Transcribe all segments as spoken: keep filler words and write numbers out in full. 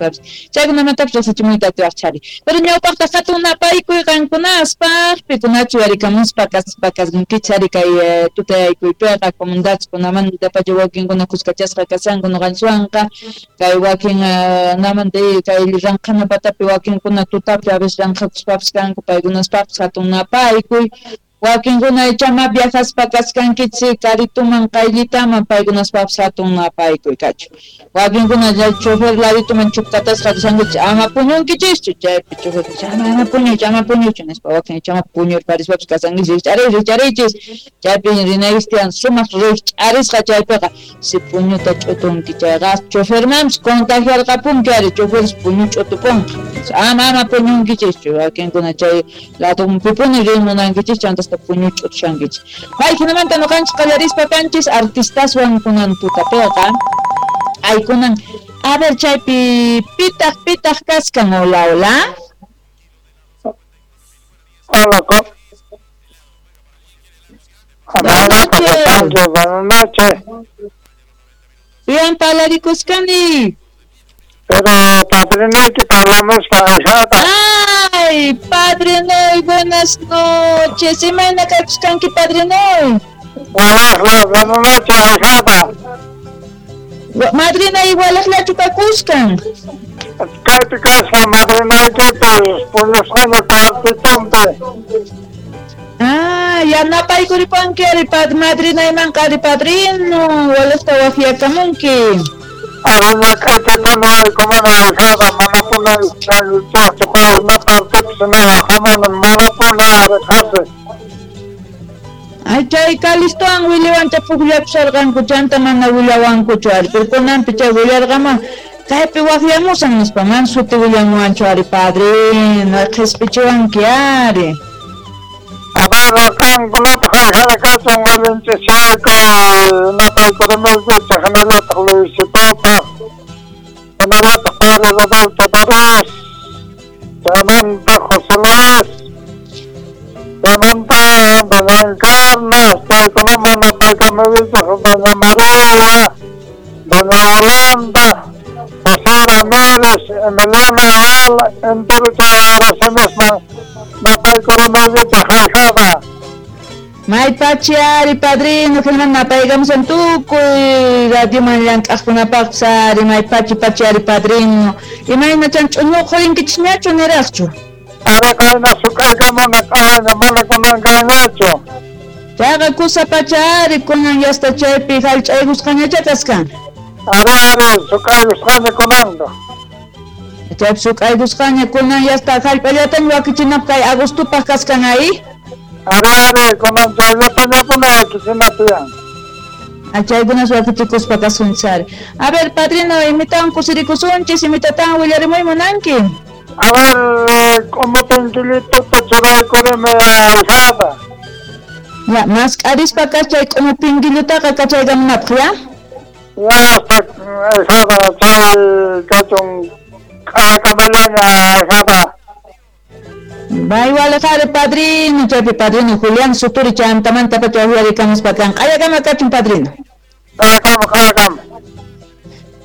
Nispapis chaykunamantapis riqsichimuyta atiwaqchari. Pero ñawpaqta hatun napaykuy qankunaspaq pikunachu yarikamuspa kaspa kasqankichari kay tutayaykuypiqa comunidadkunamanta pacha wakinkuna kuskachasqa kasanku ñuqanchikwanqa kay wakin namanta kay ranqhana patapi wakinkuna tutapi a veces ranqhakuspapis kanku paykunaspaqpis hatun napaykuy. Wakinkuna ichama viajaspa kasqankichik karituman qayllitaman paykunaspapis hatun napaykuy kachun. Wakinkuna chofer ladituman chupkatasqa rishankichik ama puñunkichischu chaypi chofer ama ama puñuychu ama puñuychu nispa wakin ichama puñurparispapis kasankichik rikch'ariy rikch'ariychis chaypi rinaykichik tiyan sumaq rikch'arisqa chaypiqa si puñuta ch'utunki chayqa chofermanpis contagiarqapunki ari choferis puñu ch'utupunqa ama ama puñunkichischu wakinkuna chay ladunpipuni riy munankichis chanta puñu ch'utushankichik. Hay hinamanta ñuqanchik qallarispa kanchis artistaswan kunan tutapiqa aykunan a ver chaypi pitaq pitaq kaskan. Hola, hola. Hola, hola, buenas noches. Bien, palarikusqani. Pero padrino que hablamos para Ay, Padre Noy, buenas noches. Imayna kakusqanki, Padre Noy? Buenas, buenas noches, ahijada. Madrina igualaqllachu kakusqan. Kaypi kasqa madrinaykipis puñusqaña cuartitonpi. Ah, yanapaykuripanki ari madrinaymanqa ari padrino, walaqta waqyakamunki. Arina k'aytatana aykumana ahijada manapuna chaqchuqa hamana manapuna ariqhasi. Ay, chay Calistowan Williwancha pukllapusharqanku chanta mana willawankuchu ari, pero kunanpi chay willarqaman kaypi waqyamusan nispa man suti willamuwanchu ari padrino, qhispichiwanki ari. A ver, qankunapaq ahijada kachun allinchishayku napaykurimuykichik hinallataq Luisitopaq hinallataq Padre Rodolfo Barros chaymanta José Luis chaymanta doña Encarna chaykunaman napaykamuykichik doña María, doña Yolanda, José Ramírez, Emiliano Ayala, entero chay oracionesman napaykurimuykichik ahijada. Maypachi ari padrino, hinaman napaykamusan tukuy radioman llank'aqkunapaqpis ari maypachi pachi ari padrino. Imaynachan ch'uñuq qurinkichikñachu niraqchu? Ari qayna suk'aykamuna q'ayna mana kunankañachu. Chayqa kusa pacha ari kunan yasta chaypi hallch'aykusqañacha kasqan. Ari ari suk'aykusqaña kunanqa. Chaypi suk'aykusqaña kunan yasta hallp'allataña wakichinapaq kay agostupaq kasqan ahí. Ari ari kunan chayllatañapuni wakichina tiyan. Chaykunas wakichikuspa kasunchis ari. A ver padrino, imitawan kusirikusunchis, imitatan willarimuy munanki. A ver, k'umupinkillituta churaykurimi ahijada. Ya, mask'arispa kachay k'umupinkillutaqa kachaykamunapaq, ya? Ya, hasta ahijada chay kachun k'ayakamallaña ahijada. Bay walaqari padrino, chaypi padrino Julián Suturi chantamanta pacha uyarikamuspa kan. Q'ayakama kachun padrino. Q'ayakama, q'ayakama.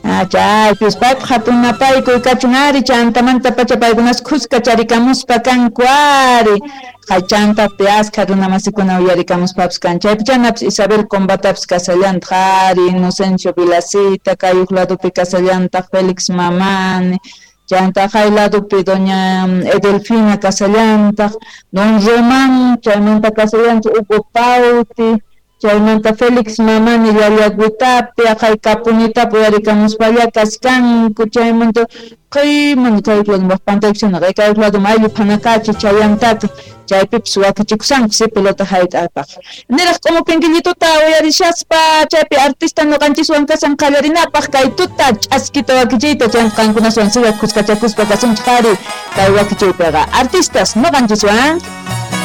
Ah, chaypis paypaq hatun napaykuy kachun ari chantamanta pacha paykunas khuska charikamuspa kanku ari. Chaychantapi askha runamasikuna uyarikamuspapis kan. Chaypi chanapis Isabel Combatapis kasallantaq ari, Inocencio Vilacita, kay huk ladopi kasallantaq Félix Mamani. Chanta hay ladopi doña Edelfina kasallantaq, don Román, chaymanta kasallantaq Hugo Pauti, chaymanta Félix Mamani Llallaguitapi, aqhay Kapunitapi uyarikamuspalla kaskanku, chaymanta qhayman kay lado pantaykusana kay lado ayllu phanakachi chayantata chaypipis wakichikusanku si pelota hayt'apaq. Niraq k'umupinkillituta uyarishaspa chaypi artista ñuqanchiswan kasan qallarinapaq kay tuta ch'askita wakichiyta chayqa qankunaswan siga kuskachakuspa kasunchik ari kay wakichiypiqa artistas ñuqanchiswan.